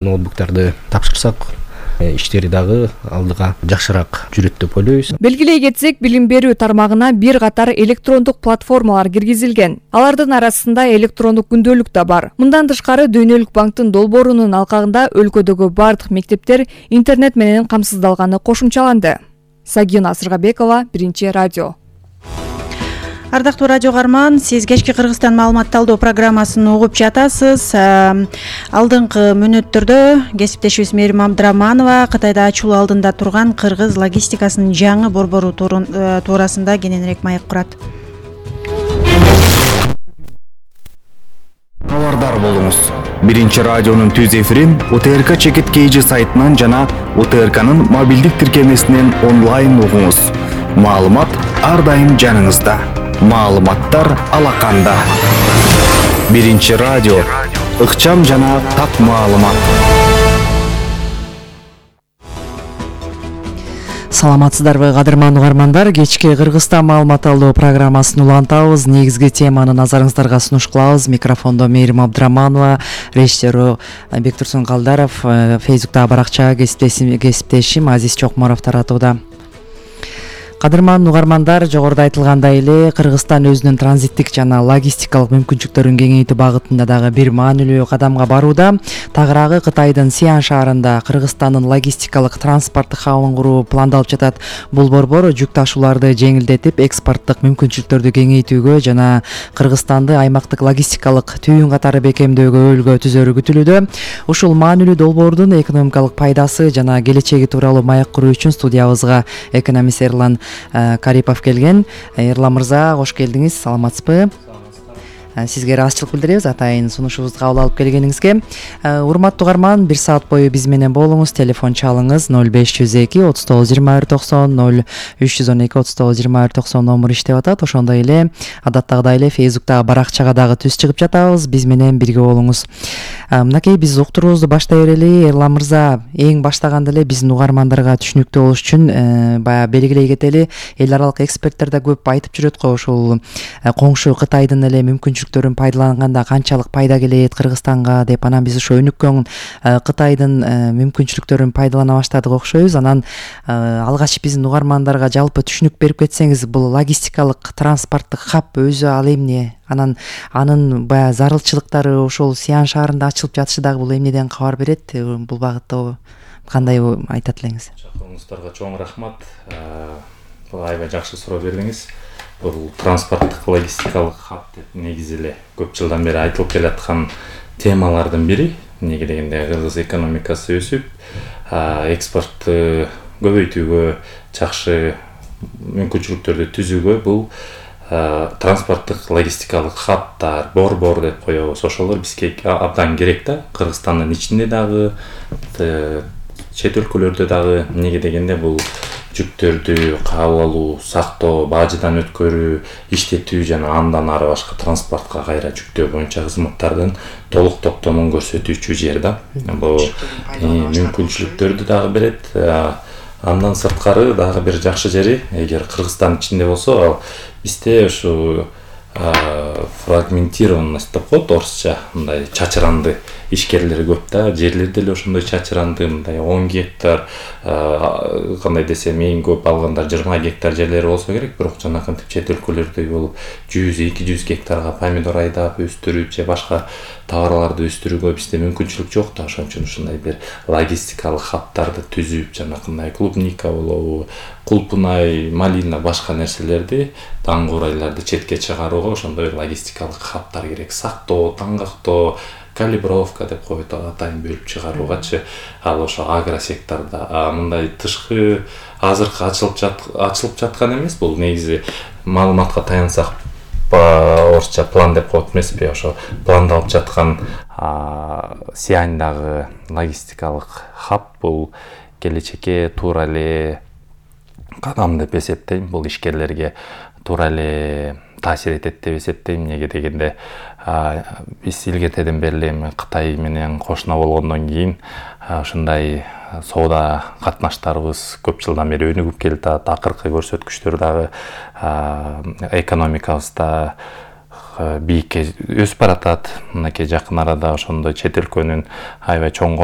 ноутбуктарды тапшырсак иштери дагы алдыга жакшыраак жүрөт деп ойлойбуз. Белгилей кетсек, билим берүү тармагына бир катар электрондук платформалар киргизилген. Алардын арасында электрондук күндөлүк да бар. Мындан тышкары Дүйнөлүк банктын долбоорунун алкагында өлкөдөгү бардык мектептер интернет менен камсыздалганы кошумчаланды. Сагина Сыргабекова, Биринчи радио. Ардактуу радио каарман, сиз кечки Кыргызстан маалымат талдоо программасын угуп жатасыз. Алдыңкы мүнөттөрдө кесиптешибиз Мээрим Абдыраманова Кытайда ачылуу алдында турган кыргыз логистикасынын жаңы борбору туурасында кененирээк маек курат. Абардар болуңуз. Биринчи радионун түз эфирин УТРК Чекит KG сайтынан жана УТРКнын мобилдик тиркемесинен онлайн угуңуз. Маалымат ар дайым жаныңызда. Маалыматтар алаканда. Биринчи радио, ыкчам жана так маалымат. Саламатсыздарбы, кадырман угармандар? Кечки Кыргызстан маалымат алуу программасын улантабыз. Негизги теманы назарыңыздарга сунуш кылабыз. Микрофондо Мээрим Абдыраманова, режиссеру Бектурсун Калдаров, Фейсбуктагы баракча кесиптешим Азиз Чокморов таратууда. Кадырман угармандар, жогоруда айтылгандай эле Кыргызстан өзүнүн транзиттик жана логистикалык мүмкүнчүлүктөрүн кеңейтүү багытында дагы бир маанилүү кадамга барууда. Тагыраагы Кытайдын Сиан шаарында Кыргызстандын логистикалык транспорттук хабын куруу пландалып жатат. Бул борбор жүк ташууларды жеңилдетип, экспорттук мүмкүнчүлүктөрдү кеңейтүүгө жана Кыргызстанды аймактык логистикалык түйүн катары бекемдөөгө өлгө түзөрү күтүлүүдө. Ушул маанилүү долбоордун экономикалык пайдасы жана келечеги тууралуу маек куруу үчүн студиябызга экономист Эрлан Карипов келген. Эрлан мырза, кош келдиңиз. Саламатсызбы? Сизге ыраазычылык билдиребиз атайын сунушубузду кабыл алып келгениңизге. Урматтуу угарман, 1 саат бою биз менен болуңуз. Телефон чалыңыз 0502 39 21 90 0312 39 21 90 номер иштеп атат. Ошондой эле адаттагыдай эле Фейсбуктагы баракчага дагы түз чыгып жатабыз. Биз менен бирге болуңуз. Мынакей биз уктуруубузду баштай берели. Эрлан мырза, эң баштаганда эле биздин угармандарга түшүнүктүү болуш үчүн баягы белгилей кетели. Эл аралык эксперттер да көп айтып жүрөт го, ушул коңшу Кытайдын эле мүмкүнчүлүктөрүн пайдаланганда канчалык пайда келет Кыргызстанга деп. Анан биз ошо өнүккөн Кытайдын мүмкүнчүлүктөрүн пайдалана баштадык окшойбуз. Анан алгач биздин угармандарга жалпы түшүнүк берип кетсеңиз, бул логистикалык транспорттук хаб өзү ал эмне? Анан анын баягы зарылчылыктары ошол Сиан шаарында ачылып жатышы дагы бул эмнеден кабар берет? Бул багытта кандай айтат элеңиз? Чакыруңуздарга чоң рахмат. Бул аябай жакшы суроо бердиңиз. Бул транспорттук логистикалык хаб деп негизи эле көп жылдан бери айтылып келаткан темалардын бири. Эмнеге дегенде кыргыз экономикасы өсүп, экспортту көбөйтүүгө, жакшы мүмкүнчүлүктөрдү түзүүгө бул транспорттук логистикалык хабтар, борбор деп коебуз. Ошолор бизге абдан керек да. Кыргызстандын ичинде дагы, чет өлкөлөрдө дагы. Эмнеге дегенде бул жүктөрдү кабыл алуу, сактоо, бажыдан өткөрүү, иштетүү жана андан ары башка транспортко кайра жүктөө боюнча кызматтардын толук топтомун көрсөтүүчү жер да. Бул мүмкүнчүлүктөрдү дагы берет. Андан сырткары дагы бир жакшы жери, эгер Кыргызстан ичинде болсо, ал бизде ушу фрагментированность деп коет орусча, мындай чачыранды ишкерлер көп да. Жерлер деле ошондой чачыранды, мындай 10 гектар, кандай десем, эң көп алганда 20 гектар жерлери болсо керек, бирок жанакынтип чет өлкөлөрдөй болуп 100-200 гектарга помидор айдап өстүрүү же башка товарларды өстүрүүгө бизде мүмкүнчүлүк жок да. Ошон үчүн ушундай бир логистикалык хабтарды түзүп, жанакындай клубника болобу, кулпунай, малина, башка нерселерди, таңкурайларды четке чыгарууга ошондой логистикалык хабтар керек. Сактоо, таңгактоо, калибровка деп коет, атайын бөлүп чыгаруугачы. Ал ошо агросекторда мындай тышкы азыркы ачылып жаткан эмес. Бул негизи маалыматка таянсак орусча план деп коет эмеспи? Ошо пландалып жаткан Сиандагы логистикалык хаб бул келечекке туура эле кадам деп эсептейм. Бул ишкерлерге туура эле таасир этет деп эсептейм. Эмнеге дегенде биз илгертеден бери эле Кытай менен кошуна болгондон кийин ушундай соода катнаштарыбыз көп жылдан бери өнүгүп келатат. Акыркы көрсөткүчтөр дагы экономикабызда бийикке өсүп баратат. Мынакей жакын арада ошондой чет өлкөнүн аябай чоң